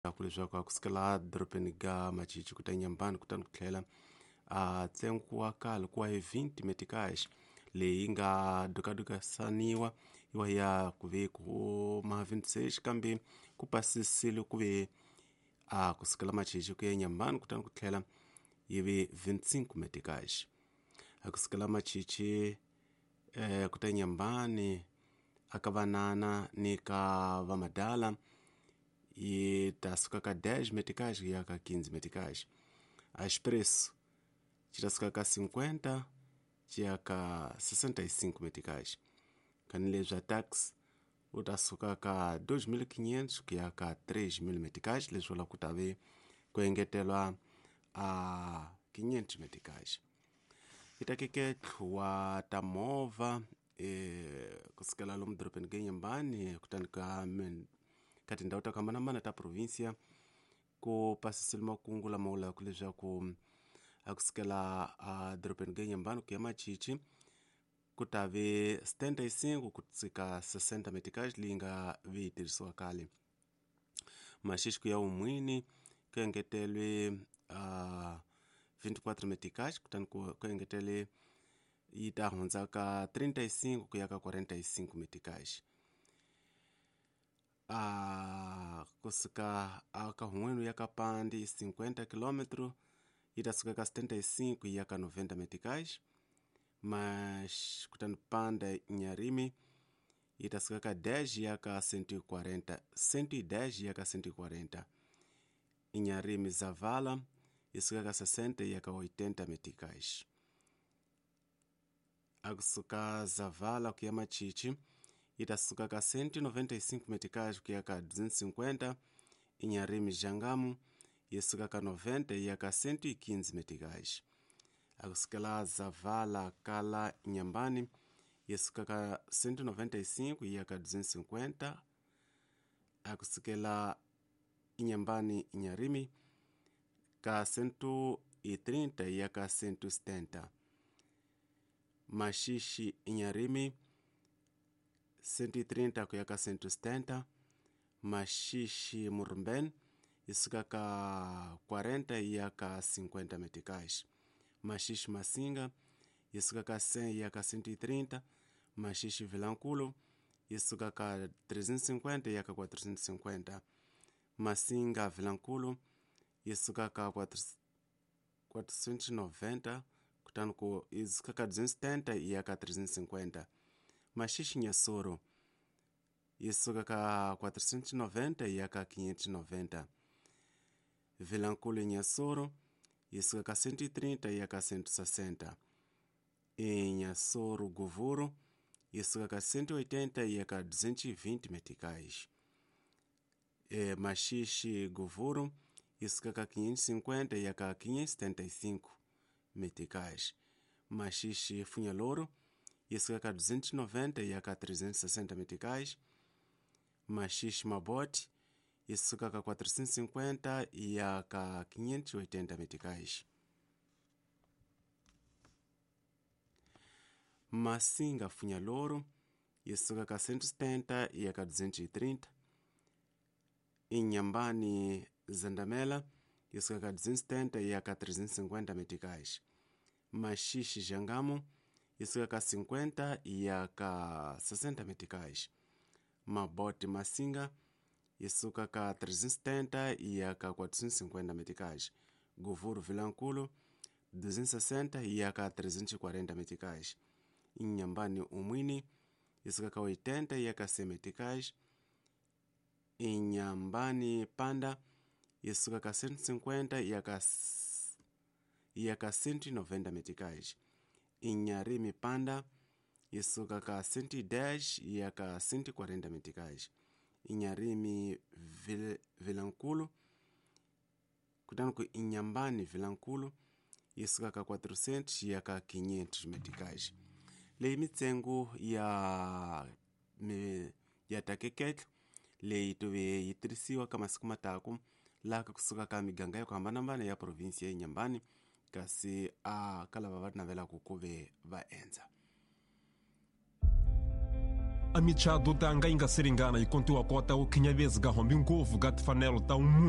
Ku leswaku a kusukela dorobeni ga Machichi ku ta Nyambani kutani ku tlhela a ntsengo wa kale ku wa hi 20 meticais leyi nga dukadukasaniwa yiwa ya ku ve ku ma 26 kambe ku pasisile ku ve a kusukela Machichi ku ya Nyambani kutani ku tlhela yi ve 25 meticais. A kusukela Machichi ku ta Nyambani aka vanana ni ka vamadala yi ta suka ka 10 meticais ku ya ka 15 meticais. A expresso xi ta suka ka 50 xi ya ka 65 meticais. Kanileswi a taxi u ta suka ka 2500 ku ya ka 3000 meticais, leswi vulaka ku ta ve ku engetelwa a 500 meticais. Yi ta keketlu wa ta movha kusukela lomu dorobeni ka Nyambani kutani ka ka tindhawu ta ku hambanahambana ta provinsia ku pasisile makungu lama vulaka leswaku a kusukela a dorobeni ka Nyambani ku ya Machichi ku ta ve 75 ku tsika 60 meticais leyi nga ve yi tirhisiwa kale. Maxixi ku ya Umwini ku engetelwe 24 meticais kutani ku engetele yi ta hundza ka 35 ku ya ka 45 meticais. Kusuka a ka Hun'wenu ya ka Pandi 50 km yi ta suka ka 75 yi ya ka 90 meticais. Mas kutani Panda Nyarimi yi ta suka ka 10 yi ya ka 140, 110 yi ya ka 140. Inharime Zavala yi suka ka 60 yi ya ka 80 meticais. A kusuka Zavala ku ya Machichi yi ta suka ka 195 meticais ku ya ka 250. Inharime Jangamo yi suka ka 90 yi ya ka 115 meticais. A kusukela Zavala kala Inhambane yi suka ka 195 yi ya ka 250. A kusukela Inhambane Inharime ka 130 yi ya ka 170. Maxixi Inharime 130 ku ya ka 170. Maxixi Murumbene yi suka ka 40 yi ya ka 50 meticais. Maxixi Massinga yi suka ka 100 yi ya ka 130. Maxixi Vilankulo yi suka ka 350 yi ya ka 450. Massinga Vilankulo yi suka ka 490 kutani ku yi suka ka 270 yi ya ka 350. Maxixi Inhassoro yi suka ka 490 yi ya ka 590. Vilankulo Inhassoro yi suka ka 130 yi ya ka 160. Inhassoro Govuro yi suka ka 180 yi ya ka 220 meticais. Maxixi Govuro yi suka ka 550 yi ya ka 575 meticais. Maxixi Funhalouro yi suka ka 290 yi ya ka 360 meticais. Maxixi Mabote yi suka ka 450 yi ya ka 580 meticais. Massinga Funhalouro yi suka ka 170 yi ya ka 230. Inhambane Zandamela yi suka ka 270 yi ya ka 350 meticais. Maxixi Jangamo yi suka ka 50 yi ya ka 60 meticais. Mabote Massinga yi suka ka 370 yi ya ka 450 meticais. Govuro Vilankulo 260 yi ya ka 340 meticais. Inhambane Umwini yi suka ka 80 yi ya ka 100 meticais. Inhambane Panda yi suka ka 150 yi ya ka 190 meticais. Inharime Panda yi suka ka 110 yi ya ka 140 meticais. Inharime Vilankulo kutani ku Inhambane Vilankulo yi suka ka 400 yi ya ka 500 meticais. Leyi mintsengo ya ya takeketlo leyi tove yi tirhisiwa ka masiku mataku laha ka kusuka ka miganga ya ku hambanahambana ya provinsi ya Inhambane kasi a ka lava va navelaka ku ve va endza. A michado tanga yi nga siringana yi kontiwa kota ku khinyavezi ka hombi ngopfu ka timfanelo ta munhu.